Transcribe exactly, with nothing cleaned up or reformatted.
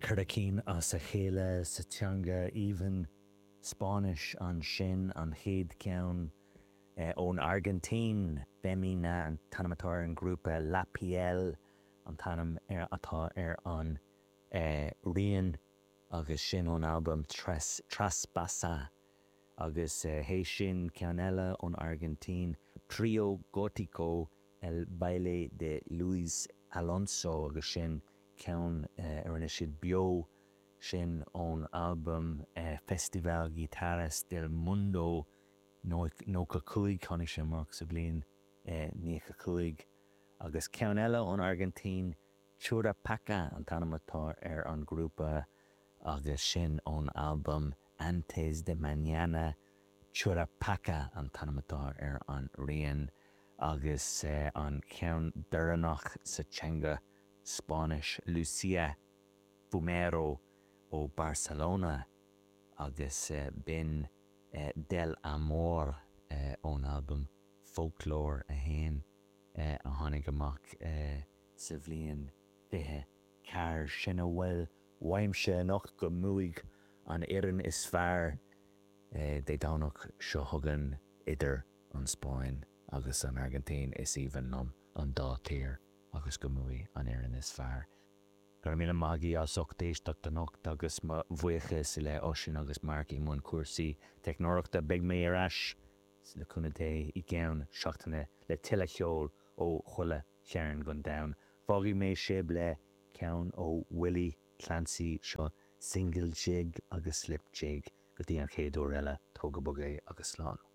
Ceithre cinn as a chéile sa teanga aoibhinn Spáinnis ansin an chéad cheann eh, ón Airgintín Femina an t-ainm atá ar an grúpa La Piel an t-ainm atá ar an eh, rian agus sin ón albam Tres Traspasa agus eh, théis sin ceann eile ón Airgintín Trio Gótico El Baile de Luis Alonso agus sin ceann eh, a rinne siad beo sin ón albam eh, Festival Guitarras del Mundo nócha cúig tháinig sé amach sa bhliain eh, nócha cúig agus ceann eile ón Airgintín Churrupaca an t-ainm atá ar an grúpa agus sin ón albam Antes de Mañana Churrupaca an t-ainm atá ar an rian agus eh, an ceann deireanach sa teanga Spáinnis Lucia Fumero ó Barcelona agus eh, b'in eh, Del Amor eh, ón albam Folklore a haon eh, a tháinig amach eh, sa bhliain fiche ceathair sin a bhfuil uaimse anocht go mbuafaidh an fhoireann is fearr eh, Dé Domhnach seo chugainn idir an Spáinn agus an Airgintín is aoibhinn liom an dá tír agus go mbuafaidh an fhoireann is fearr. Gur mí maigí as ucht éisteacht anocht agus mo bhuíochas le Oisín agus Mark i mbun cúrsaí teicneolaíochta beidh mé ar ais le cúnamh Dé i gceann seachtaine le tuilleadh ceoil ó chuile chearn den domhan. Fágfaidh mé sibh le ceann ó Willie Clancy seo single jig agus slip jig go dtí an chéad uair eile tóg go bog é agus slán.